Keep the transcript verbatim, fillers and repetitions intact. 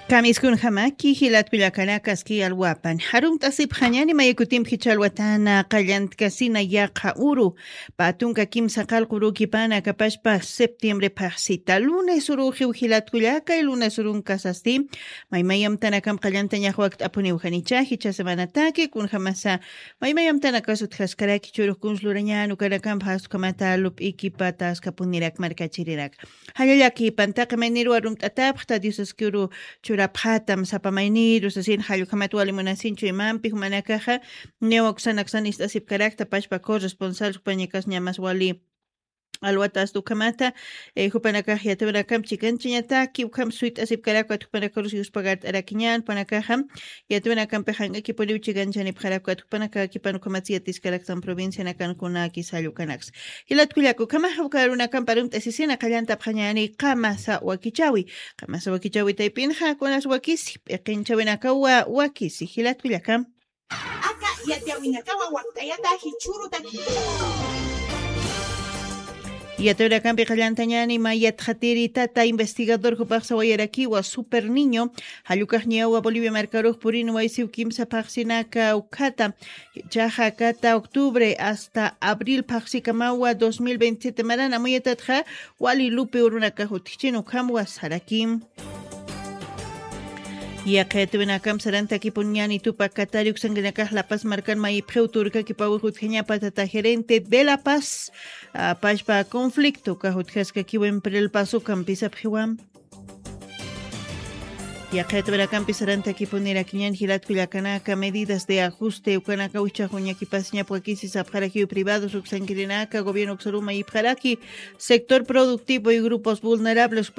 Kamiskunjamaki jilatkullakanakaski alwapan. Jarumt'asipxañani maykutimpi jichha alwatana qallantkasina yaqha uru. Patunka kimsa qallqurukipana kapashpa septiembre phaxsita. Lunes uruxiw jilatkullakay, lunes urunkasasti. Maymayamtanakam qallantañax wakt'apuniwjanicha jichha semanataki kunjamasa. Maymayamtanakasutjaskaraki churux kunslurañan ukanakampa jastukhamata lup'ikipataskapunirak markachirirak. Jallallaki pantaqi mayniru arumt'atapxta Diosaskiru churapxatam sapa mayniru sasin jallukhamat wali munasinchu imampi jumanakaxa. Niwa uksanaksan ist'asipkarakta pashpa corresponsal jupañakas ñamas wali alwatasta ukhamata. Jupanakax yatawinakamp chikanchañataki ukham suyt'asipkarakpat jupanakarus yuspagart'arakiñan jupanakaxam. Yatawinakampi jank'akipuniw chikanchani pxarakpat jupanakakipan ukhamatsi yatiskaraktan provincianakan kunaki sallukanaks. Jilatkullaku khamaxa uka arunakampa arumt'asisina qallantapxañani qamasa wakichawi. Qamasa wakichawi taypinxa kunas wakisi p'iqinchawinakawa wakisi jilatkullakam. Aka yatiyawinakawa wakt'ayata jichhurutaki. Yatawirakampi qallantañani mayatxatiri tata investigador jupaxsa wayarakiwa super niño. Jallukaxñawa bolivia markarux purin waysiw kimsa phaxsinaka ukhata. Chaxa kata octubre hasta abril phaxsikamawa dos mil veintisiete marana muyatatxa wali lupi urunakax utjichin ukhamwa sarakim. Yaqhayatuwinakam sarantakipun ñani tupa katari uksankinakax lapas markan mayipxiw turkakipawix utjañapa tata gerente de la paz. Pashpa conflicto kax utjaskakiwa emprel paso kampisapxiwam. Yaqhayatuwinakampi sarantakipunirakiñan jilatkullakanaka medidas de ajuste ukanaka wichaxuñakipasiñap wakisi sapxarakiw privados uksankirinaka gobierno uksaru mayipxaraki. Sector productivo y grupos vulnerables